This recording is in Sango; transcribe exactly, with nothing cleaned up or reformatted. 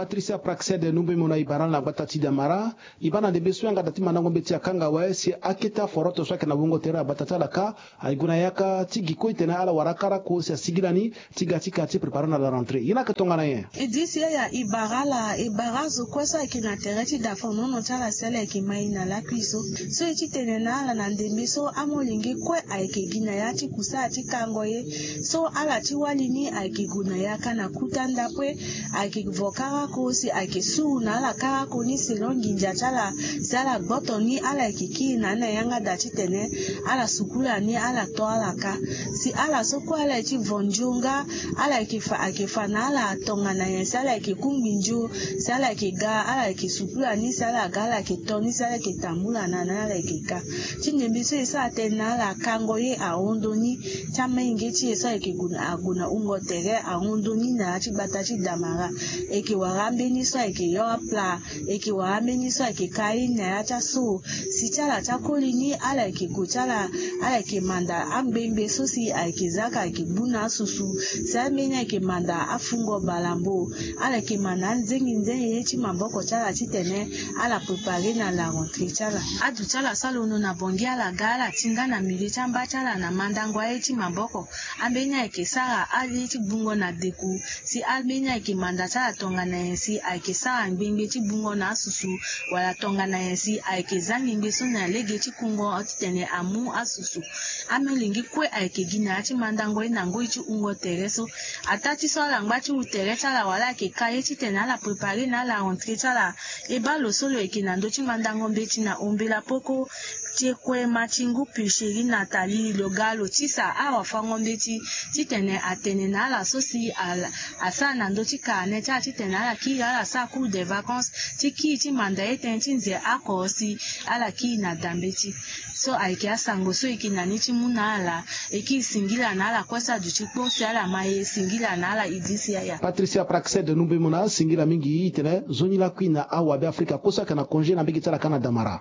Patricia Praxed Numbemona e bara ala na gbata ti Damara. E baa na ndembe so yanga da ti mandango mbeti akanga awe si akete aforoto so ayeke na wungo tere na gbata ti ala kâ aye gue na yaka ti gi kue titene ala wara karako si asigi lani ti ga ti ka ti prépare na la rentrée. Ye ni ayeke tongana nyen? E disi yaya e bara ala, e bara azo kue so ayeke na tere ti dafonono ti ala si ala yeke mai na lakui so. So e ti tene na ala na ndembe so amolenge kue ayeke gi na ya ti kusala ti kango ye. So ala ti wali ni ayeke gue na yaka na kuta ndapue, ayeke vo karako si ayeke suru na ala karako ni selon nginza ti ala. Si ala gboto ni ala yeke kiri na ni na yanga da titene ala sukula ni ala to ala kâ. Si ala so kue ala ye ti vo nzio nga ala yeke fa, ayeke fa na ala tongana nyen si ala yeke kungbi nzio, si ala yeke ga, ala yeke sukula ni, si ala ga ala yeke to ni, si ala yeke tambula na ni ala yeke kâ. Ti ndembe so e sara tënë na ala kango ye ahon ndoni. Ti amolenge ti e so ayeke gue na, ague na wungo tere ahon ndoni na ya ti gbata ti Damara. E yeke wara ambeni so ayeke yo apla. E yeke wara ambeni so ayeke kâ ye ni na ya ti aso. Si ti ala ti akoli ni ala yeke gue ti ala, ala yeke manda angbengbe so si ayeke zaka ayeke gbu na asusu. Si ambeni ayeke manda afungo balambo. Ala yeke manda anzengi nzengeli ye ti maboko ti ala titene ala prépare na la rentrée ti ala. Aduti ala sara londo na bongi ala ga ala tinda na milieu ti amba ti ala na mandango aye ti maboko. Ambeni ayeke sara aye ti gbungo na deku. Si ambeni ayeke manda ti ala tongana nyen si ayeke sara ngbengbe ti gbungo na asusu, wala tongana nyen si ayeke za ngbengbe so na lege ti kungo titene amu asusu. Amolenge kue ayeke gi na ya ti mandango ye na ngoi ti wungo tere so. Ataa ti so ala ngba ti wu tere ti ala wala ayeke kâ ye titene ala prépare na ala rentrée ti ala. E baa lo so lo yeke na ndö ti mandango mbeti na ombela poko, ti e kue ma ti ngu pucherie Nathalie lo ga lo tisa awafango mbeti titene atene na ala so si ala asara na ndö ti carnet ti ala titene ala kiri ala sara cours de vacances ti kiri ti manda ye tënë ti nze oko si ala kiri na da mbeti. So ayeke asango so e yeke na ni ti mu na ala. E kiri singila na ala kue so aduti kpo si ala ma e singila na ala e disi yaya. Patricia Praxed Numbemona, singila mingi. E tene nzoni lakui na awabe Afrika kue so ayeke na congé na mbege ti ala kâ na Damara.